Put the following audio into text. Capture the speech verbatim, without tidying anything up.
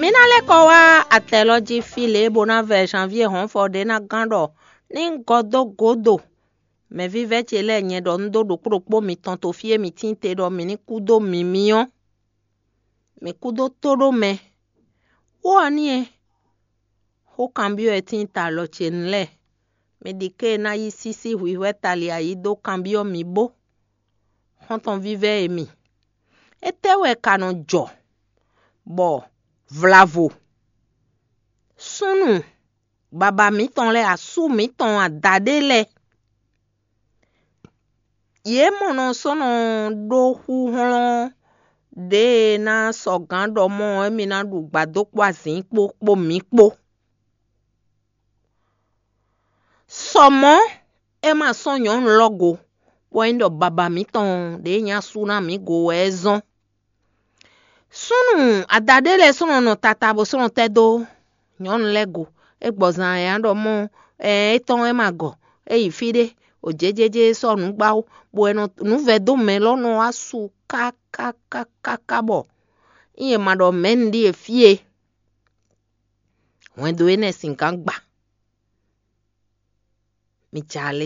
É ná lɛ́ kɔ wá atɛ lɔ jí fí lě bó ná vɛ Janvier hɔnfɔ ɖé ná gán ɖɔ ní un gɔ́ dó gǒdo mɛ̌vívɛ́ ce lɛ́ɛ nyɛ ɖɔ un ɖó ɖokpó ɖokpó mitɔn to fí e mi tín te ɖɔ mǐ ní kú dó mǐmí ɔ́, mǐ kú dó tó ɖó mɛ. Wó ɔ́ n'i é, xó kanbyɔ́ e tíin ta alɔ ce nu lɛ́ɛ, mi ɖi ké e ná yí sísí hwǐhwɛ́ tali ayǐ dó kanbyɔ́ mǐ bó. Xɔ́ntɔn vívɛ́ e mi, étɛ́ wɛ ka nɔ jɔ bɔ vlavo súnnu baba mǐtɔn lɛ́ɛ, asú mǐtɔn adaɖé lɛ́ɛ, yě mɔ nɔ sɔ́ nɔ ɖó xú hlɔ́n ɖěe ná sɔgǎn ɖɔ mɔ émí ná ɖu gbadó kpó azǐn kpó kpó mǐ kpó. Sɔ mɔ̌, é ma sɔ́ nyɔ̌nu lɔ go, bɔ é nyí ɖɔ baba mǐtɔn ɖě nyí asú ná mǐ go wɛ é zɔ́n. Súnnu adaɖé lɛ́ɛ sɔ́ nɔ nɔ tata bó sɔ́ nɔ tɛ́ dó nyɔ̌nu lɛ́ɛ go. É gbɔ zan ɛ ɖɔ mɔ ɛ étɔn é ma gɔ, é yi fí ɖé, o jějéjé sɔ́ nǔ gbá wú, bɔ é nɔ nǔ vɛ́ dó mɛ lɔ nɔ wá su kákákákáká bɔ nyí è ma ɖɔ mɛ̌ un ɖíe fí e. Hwɛndo énɛ́ sin gán gba. Mi jɛ alé.